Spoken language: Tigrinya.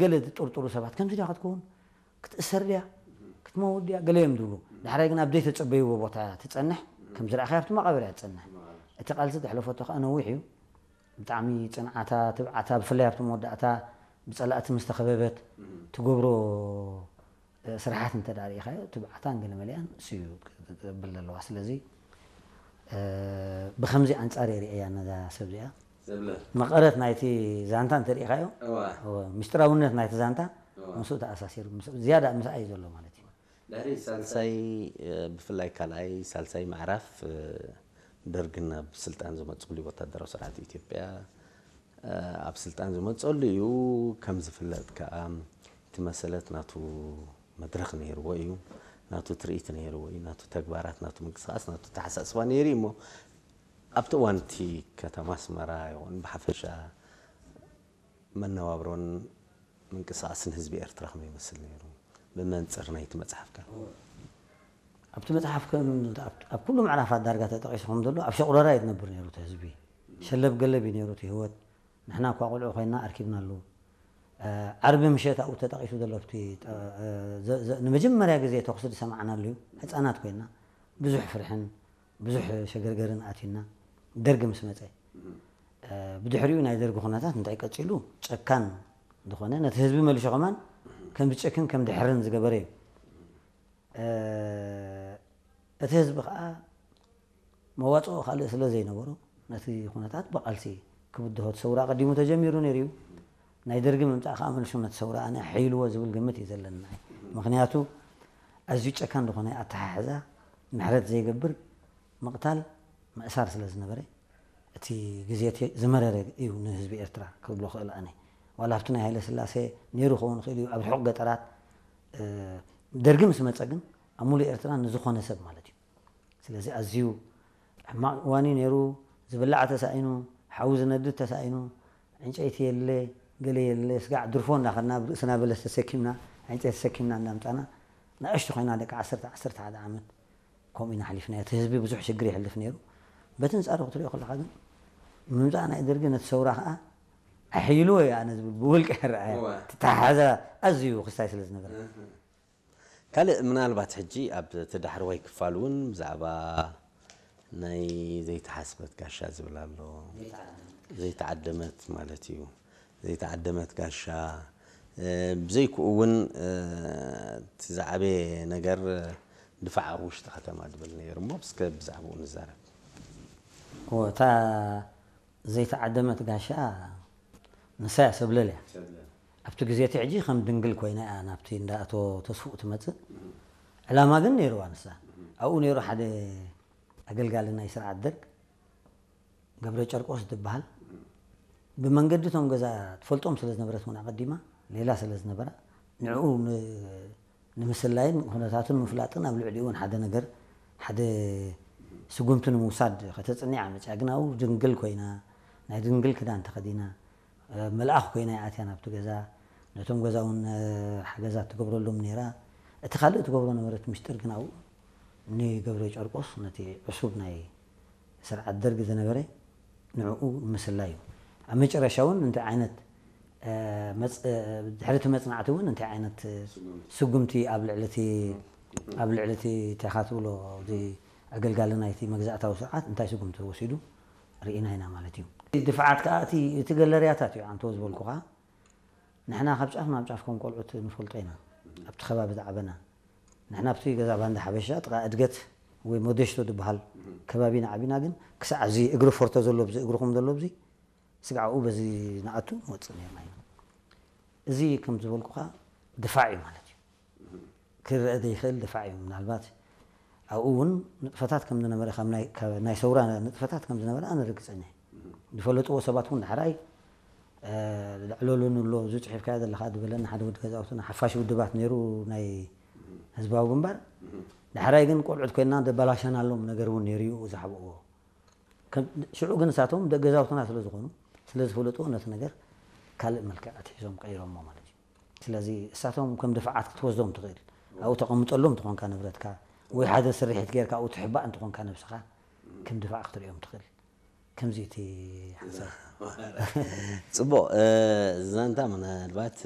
ገለ ዝጥርጥሩ ሰባት ከምዚ ድያ ክትከውን ክትእሰር ድያ ክትመውት ድያ ገለ እዮም ዝብሉ። ዳሕራይ ግን ኣብ ዘይተጸበይዎ ቦታ ትጸንሕ። ከምዚ ረኣኻዮ ኣብቲ መቓብር እያ ትጸንሕ። እቲ ቃልሲ ዘሕለፈቶ ከዓ ነዊሕ እዩ። ብጣዕሚ ጽንዓታ፣ ትብዓታ፣ ብፍላይ ኣብቲ መወዳእታ ብጸላእቲ ምስ ተኸበበት ትገብሮ ስራሓት እንተ ደኣ ርኢኻዮ ትብዓታን ገለ መሊኣን እሱ እዩ ዘብል ዘለዋ። ስለዚ ብኸምዚ ኣንጻር እየ ርእያ ነዛ ሰብ እዚኣ። መቐረት ናይቲ ዛንታ እንተ ርኢኻዮ፣ ምስጢራውነት ናይቲ ዛንታ ምስኡ ተኣሳሲሩ ዝያዳ ምስኣ እዩ ዘሎ ማለት እዩ። ድሕሪ ሳልሳይ ብፍላይ ካልኣይ ሳልሳይ ምዕራፍ ደርግን ናብ ስልጣን ዝመፅሉ ወታደራዊ ስርዓት ኢትዮጵያ ኣብ ስልጣን ዝመፀሉ እዩ። ከም ዝፍለጥ ከዓ እቲ መሰለት ናቱ መድረኽ ነይርዎ እዩ፣ ናቱ ትርኢት ነይርዎ እዩ፣ ናቱ ተግባራት፣ ናቱ ምንቅስቃስ፣ ናቱ ተሓሳስባ ነይሩ እዩ እሞ ኣብቲ እዋን እቲ ከተማ ኣስመራ ይኹን ብሓፈሻ መነባብሮን ምንቅስቃስን ህዝቢ ኤርትራ ከመይ ይመስል ነይሩ ብመንፅር ናይቲ መፅሓፍካ? ኣብቲ መፅሓፍ ከም ኣብ ኩሉ ምዕራፋት ዳርጋ ተጠቂሱ ከም ዘሎ ኣብ ሸቑረራ እዩ ዝነብር ነይሩ እቲ ህዝቢ። ሸለብ ገለብ እዩ ነይሩ እቲ ህይወት። ንሕና እኳ ቆልዑ ኮይና ኣርኪብናሉ። ዓርቢ ምሸት ኣብኡ ተጠቂሱ ዘሎ ኣብቲ ንመጀመርያ ግዜ ተኹሲ ዝሰማዕናሉ እዩ። ህፃናት ኮይና ብዙሕ ፍርሕን ብዙሕ ሸገርገርን ኣትዩና ደርጊ ምስ መፀ። ብድሕሪኡ ናይ ደርጊ ኩነታት እንታይ ቀፂሉ ጨካን ዝኾነ ነቲ ህዝቢ መሊሹ ከማን ከም ዝጨክን ከም ድሕርን ዝገበረ እዩ። እቲ ህዝቢ ከዓ መዋፅኦ ካልእ ስለ ዘይነበሮ ነቲ ኩነታት ብቃልሲ ክብድሆ እቲ ሰውራ ኣቐዲሙ ተጀሚሩ ነይሩ እዩ። ናይ ደርጊ ምምፃእ ከዓ መልሱ ነቲ ሰውራ ኣነ ሓይልዎ ዝብል ግምት እዩ ዘለኒ። ምክንያቱ ኣዝዩ ጨካን ዝኾነ ኣተሓሕዛ ምሕረት ዘይገብር ምቕታል ምእሳር ስለ ዝነበረ እቲ ግዜ እቲ ዝመረረ እዩ ንህዝቢ ኤርትራ ክብሎ ክእል ኣነ። ዋላ ኣብቲ ናይ ሃይለ ስላሴ ነይሩ ክኸውን ይኽእል እዩ ኣብ ርሑቕ ገጠራት ደርጊ ምስ መፀ ግን ኣብ ሙሉእ ኤርትራ ንዝኾነ ሰብ ማለት እዩ። ስለዚ ኣዝዩ ሕማቕ እዋን እዩ ነይሩ። ዝብላዕ ተሳኢኑ፣ ሓዊ ዝነድድ ተሳኢኑ፣ ዕንጨይቲ የለ፣ ገለ የለ፣ ስጋዕ ድርፎ እንዳኸድና ብርእስና በለስ ተሰኪምና፣ ዕንጨይቲ ተሰኪምና እንዳምጻና ንእሽቶ ኮይና ደቂ ዓሰርተ ዓሰርተ ሓደ ዓመት ከምኡ ኢና ኣሕሊፍናዮ። እቲ ህዝቢ ብዙሕ ሽግር የሕልፍ ነይሩ። በቲ ኣንጻሩ ክትሪኦ ከለኻ ግን ምምጻእ ናይ ደርጊ ነቲ ሰውራ ከዓ ኣሕይልዎ እዩ ኣነ ዝብል ብውልቀ ይረኣየ። ተተሓሓዘ ኣዝዩ ክስታይ ስለ ዝነበረ። ካልእ ምናልባት ሕጂ ኣብ እቲ ዳሕረዋይ ክፋል እውን ብዛዕባ ናይ ዘይተሓስበት ጋሻ ዝብል ኣሎ። ዘይተዓደመት ማለት እዩ። ዘይተዓደመት ጋሻ ብዘይክኡ እውን እቲ ዝዓበየ ነገር ድፋዕ ኣብ ውሽጢ ከተማ ድብል ነይሩ እሞ እስከ ብዛዕባኡ ንዛረብ። እታ ዘይተዓደመት ጋሻ ንሳ እያ ሰብለል እያ። ኣብቲ ግዜ እቲ ሕጂ ከም ድንግል ኮይና እያ ናብቲ እንዳ ኣቶ ተስፉኡ ትመፅእ። ዕላማ ግን ነይርዋ ንሳ። ኣብኡ ነይሩ ሓደ ኣገልጋሊ ናይ ስርዓት ደርግ ገብረ ጨርቆስ ዝበሃል ብመንገዲ እቶም ገዛ ትፈልጦም ስለ ዝነበረት እውን ኣቐዲማ ሌላ ስለ ዝነበራ ንዕኡ ንምስላይን ኩነታቱ ንምፍላጥን ኣብ ልዕሊኡ እውን ሓደ ነገር ሓደ ስጉምቲ ንምውሳድ ከተፅንዕ እያ መፅያ። ግን ኣብኡ ድንግል ኮይና ናይ ድንግል ክዳን ተኸዲና መልኣኽ ኮይና እያ ኣትያ ናብቲ ገዛ። ነቶም ገዛ እውን ሓገዛት ትገብረሎም ነይራ። እቲ ካልእ ትገብሮ ነበረት ምስጢር ግን ኣብኡ ንገብረ ጨርቆስ ነቲ ዕሱብ ናይ ስርዓት ደርግ ዝነበረ ንዕኡ ምስላ እዩ። ኣብ መጨረሻ እውን እንታይ ዓይነት ድሕሪ እቲ መፅናዕቲ እውን እንታይ ዓይነት ስጉምቲ ኣብ ልዕሊ እቲ ኣብ ልዕሊ እቲ እንታይ ኢኻ ትብሎ እቲ ኣገልጋሊ ናይቲ መግዛእታዊ ስርዓት እንታይ ስጉምቲ ወሲዱ ርኢና ኢና ማለት እዩ። ድፍዓት ከዓ እቲ ገለርያታት እዩ ኣንተዎ ዝበልኩኻ። ንሕና ካብ ጫፍ ናብ ጫፍ ከም ቆልዑት ንፈልጦ ኢና ኣብቲ ከባቢ ዝዓበና። ንሕና ኣብቲ ገዛ ባንዳ ሓበሻ ጥቓ እድገት ወይ ሞደሽቶ ዝበሃል ከባቢ ኢና ዓቢና፣ ግን ክሳዕ እዚ እግሪ ፎርቶ ዘሎ ብዚ እግርኹም ዘሎ ብዚ ስጋዕ ኣብኡ በዚ ንኣቱ ንወፅእ ነርና ኢና። እዚ ከም ዝበልኩኻ ድፋዕ እዩ ማለት እዩ። ክረአ ዘይኽእል ድፋዕ እዩ። ምናልባት ኣብኡ እውን ንጥፈታት ከም ዝነበረ ካብ ናይ ሰውራ ንጥፈታት ከም ዝነበረ ኣነ ርግፀኛ እየ። ዝፈለጥዎ ሰባት እውን ዳሕራይ ልዕለሉ ንሎ እዚ ፅሒፍካዮ ዘለኻ ዝበለኒ ሓደ ወዲ ገዛውትና ሓፋሽ ውድባት ነይሩ ናይ ህዝባዊ ግንባር። ዳሕራይ ግን ቆልዑት ኮይና ደባላሸናሎም ነገር እውን ነይሩ እዩ ዝሓብእዎ። ሽዑ ግን እሳቶም ደቂ ገዛውትና ስለ ዝኾኑ ስለ ዝፈለጥዎ ነቲ ነገር ካልእ መልክዕ ኣትሒዞም ቀይሮሞ ማለት እዩ። ስለዚ እሳቶም ከም ድፋዓት ክትወስዶም ትኽእል ኣብኡ ተቐምጠሎም ትኾንካ ንብረትካ ወይ ሓደ ስርሒት ጌርካ ኣብኡ ትሕባእ እንትኾንካ ነብስኻ ከም ድፋዕ ክትሪኦም ትኽእል። ከምዚ እቲ ሓሳብ። ፅቡቕ ዛንታ ምናልባት